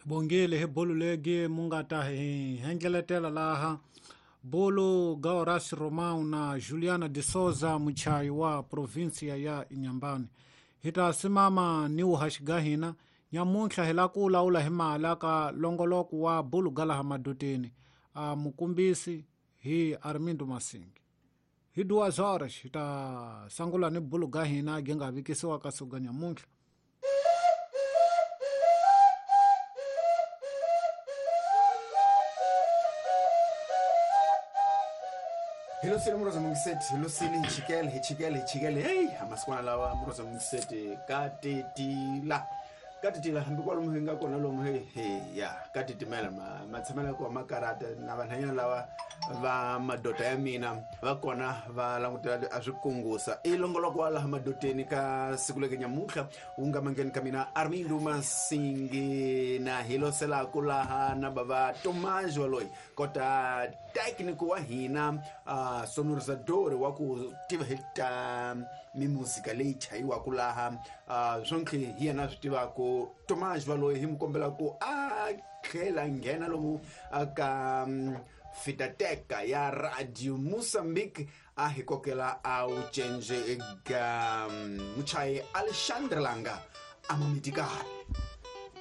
Bongile hi bulu legi mu nga ta hi hendleletela laha bulu Gaoras Romão na Juliana de Souza muchayi wa provinsia ya Inhambane. Hi ta simama ni wuhaxi ga hina nyamuntlha hi la ku lawula hi mali ka longoloko wa bulu ga laha madoteni a mukumbisi hi Armindo Masingi. Hi 2 horas hi ta sangula ni bulu ga hina gi nga vikisiwa ka suga nyamuntlha. Hi losile muroza mungiseti, hi losile, hi chikele, hi chikele, hi chikele. Heyi, amasikwana lawa muroza mungiseti ka titila, ka titila hambi kwalomu hi nga kona lomu. He he ya ka titimela matshamelo ya kona makarata na vanhanyana lava va madoda ya mina va kona va langutela a swi kungusa. I longoloko wa laha madoteni ka siku leke nyamuntlha wu nga mangeni ka mina Armindo Masingi na hi loselaku laha na bava Tomás waloyi kota técnico wa hina, sonorizador wa ku tiva hi ta mimuzika leyi chayiwaka laha, swonke hi yena swi tivaku. Tomás waloyi hi mu kombela ku a tlhela nghena lomu ka fitateka ya Radio Mozambique a hi kokela a wu cence ga muchayi Alexandre Langa a mamitikali.